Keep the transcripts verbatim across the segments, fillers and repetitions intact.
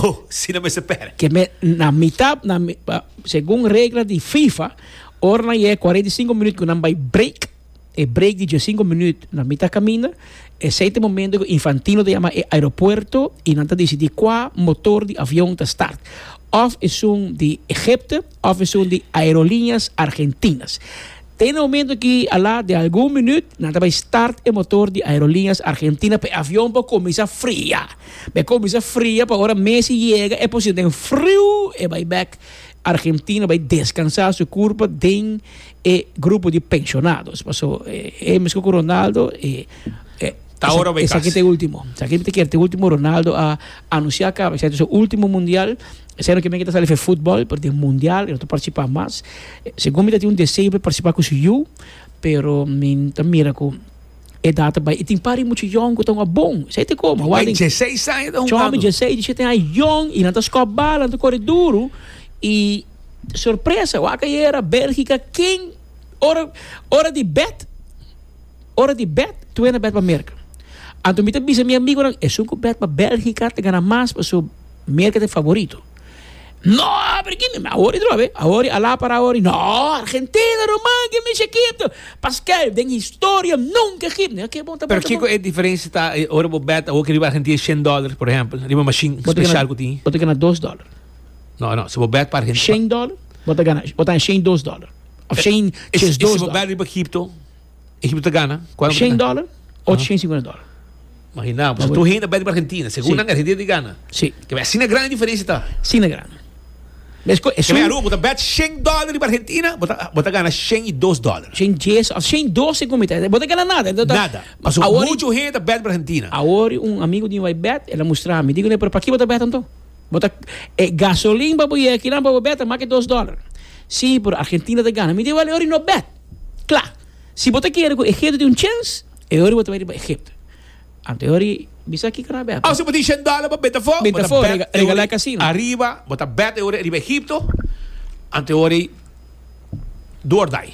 Oh, si no mester pèrdè. Ke men na mitar, na, mi- pa- segun regla di FIFA, ora nan yega kuarenta i sinku minüt ku nan bai break, e break di diesinku minüt na mitar kaminda, esei ta e momento ku Infantino ta yama e aeropuerto i nan ta disidí kua motor di avion ta start. Òf esun di Egipto, òf esun di Aerolíneas Argentinas. Tin un momento ku ala di algun minüt, nan ta bai start e motor di Aerolíneas Argentina pa e avion pa kuminsá fria. Pa kuminsá fria pa ora Messi yega e posishon den friu e bai back Argentina, bai deskansá su kurpa den e grupo di penshonado. Paso e, e mes ku Ronaldo e, e Ta ora bai esaki kas. Ta e último. Esaki ta e último. Ronaldo a anunsiá kaba, esaki ta su último mundial. Esei no ke men ku ta sali for futbòl, pero den mundial, e no ta partisipá mas. Segun mi tin un deseo pa partisipá ku su yu, pero mi ta mira ku e data bai. I tin pari muchu yòn ku ta un bon. Sei te como. Bai diesseis aña ta Chome hungando. diesseis, diesshete aña yòn i nan ta skòp bala, nan ta kore duru i sorpresa, wak ayera Bélgika ken ora ora di bet ora di bet tur hende a bet pa Merka. Anto mi ta bisa mi amigunan, esun ku bet pa Bélgika ta gana mas, paso Merka ta favorito. No, pero ki mi awor drobe, awor ala para awor. No, Argentina, Roman, ke mi Egipto. Pascal, den historia nunka Egipto. Ok, bon, ta bon. Pero Ta kiko bon. e diferensia ta eh, ora bo bet awor ku riba Argentina shen dòler, por ehèmpel, riba machine spesial ku tin? Bo ta gana dos dòler. No, no, si bo bet pa Argentina. shen dòler, bo ta gana, bo ta gana shen dos dòler. Òf shen E si dos bo dòler. Bet riba Egipto, Egipto ta gana. Kuantu shen dòler, ochocientosinkuenta dòler. Imaginá, bo tur hende bet riba Argentina, segun Si. nan Argentina ta gana. Si. Ke asina grandi diferensia ta. Asina grandi. Mesco, Ke men Aruba, bo ta bet shen dòler riba Argentina, bo ta bo ta gana shen i dos dòler. Shen dies, òf shen dos segun mi. Bo ta gana nada. Anto, Nada. Paso Awor, muchu hende ta bet riba Argentina. Awor un amigu di mi bai bet, el a mustra mi. Digo, "Pero pakiko bo ta bet anto? Bo ta eh, gasolin pa bo aki nan pa bo bet, mas ku dos dòler." Si, pero Argentina ta gana. Mi di, "Wèl, no bet." Kla. Si bo ta kere ku Egipto tin un chèns, e ora bo ta bai riba Egipto. Anto ora bisa ki kana bet. Ah, si bo tin shen dòler pa bet afó, Bet bo ta afó, bet rega- regalá ora casino. Ariba, bo ta bet ora riba Egipto. Anto ora door dai.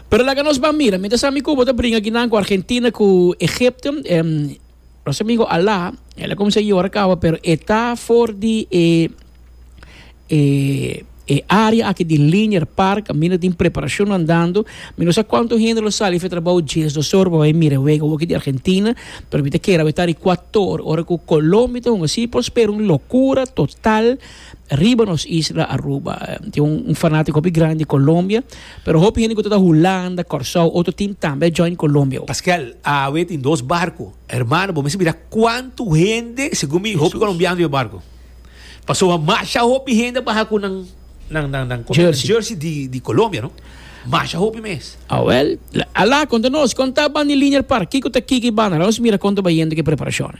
Pero laga nos ban mira, mientras ami ku bo ta bringa akinan ku Argentina ku Egipto, em, nos amigu Alá, el a kuminsá yora kaba, pero e ta for di e e e área aki di Linear Park, kaminda tin preparashon andando. Mi no sa kuantu hende lo sali for di trabou diesdos or, bai mira wega aki di Argentina, pero mi ta kere ta di kuater ora ku Colombia ta un asina, por spera un lokura total riba nos isla Aruba. Eh, Tin un, un fanátiko hopi grandi di Colombia, pero hopi hende ku ta Hulanda, Kòrsou, otro team tambe join Colombia. Pascal, awe tin dos barku. Hermano, bo mester mira kuantu hende, segun mi, hopi kolombiano den barku. Paso masha hopi hende baha ku nan nan nan nan Jersey. Jersey di di Colombia, no? Masha hopi mes. Ah, well, alá, konta nos, konta ban di Linear Park, kiko ta kiki bana, nos mira kon ta bayendo ku preparashon.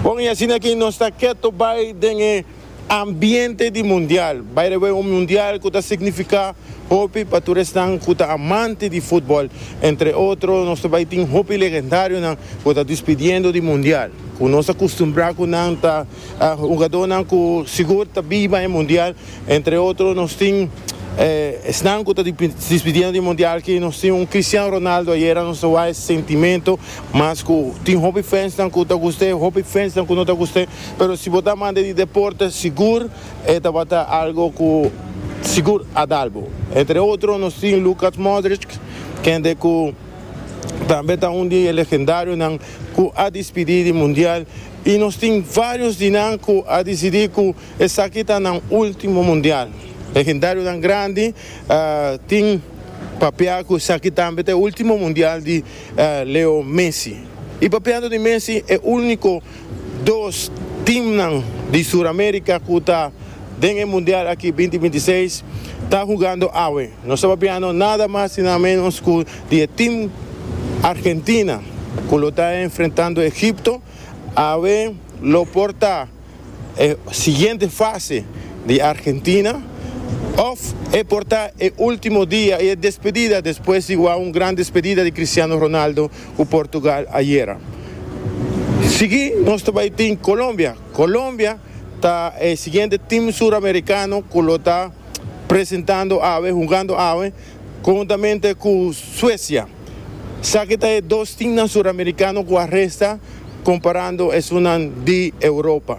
Bon, i asina aki nos ta ketu bai den e ambiente di mundial. By the way, un mundial ku ta signifiká hopi pa tur esnan ku ta amante di futbòl. Entre otro, nos tambe tin hopi legendarionan ku ta despidiendo di mundial. Ku nos a kustumbrá ku nan ta uh, hungadónan ku sigur ta biba e mundial. Entre otro, nos tin eh, esnan ku ta despidiendo di mundial ku nos tin un Cristiano Ronaldo. Ayera nos a sentimentu, mas ku tin hopi fans nan ku ta gust'é, hopi fans nan ku no ta gust'é, pero si bo ta amante di deporte, sigur e tabata algu ku sigur a dal bo. Entre otro, nos tin Lucas Modric, kende ku tambe ta un di e legendarionan ku a despedí di mundial i nos tin vários di nan ku a disidí ku esaki ta nan último mundial. Legendarionan grandi uh, tin papia ku esaki tambe ta e último mundial di uh, Leo Messi. I papiando di Messi, e úniko dos team di Suramérika ku ta den e mundial aki dos mil bintiseis ta hungando awe. Nos ta papiando nada mas i nada ménos ku di team Argentina, ku ta enfrentando Egipto. Awe lo por ta e siguiente fase di Argentina, òf e por ta e último dia i e despedida despues di un gran despedida di Cristiano Ronaldo ku Portugal ayera. Sigui, nos tambe tin Colombia. Colombia ta e siguiente team suramerikano ku ta presentando awe, hungando awe, konhuntamente ku Suesia. Sa ku ta dos team suramerikano ku a resta komparando esunnan di Europa.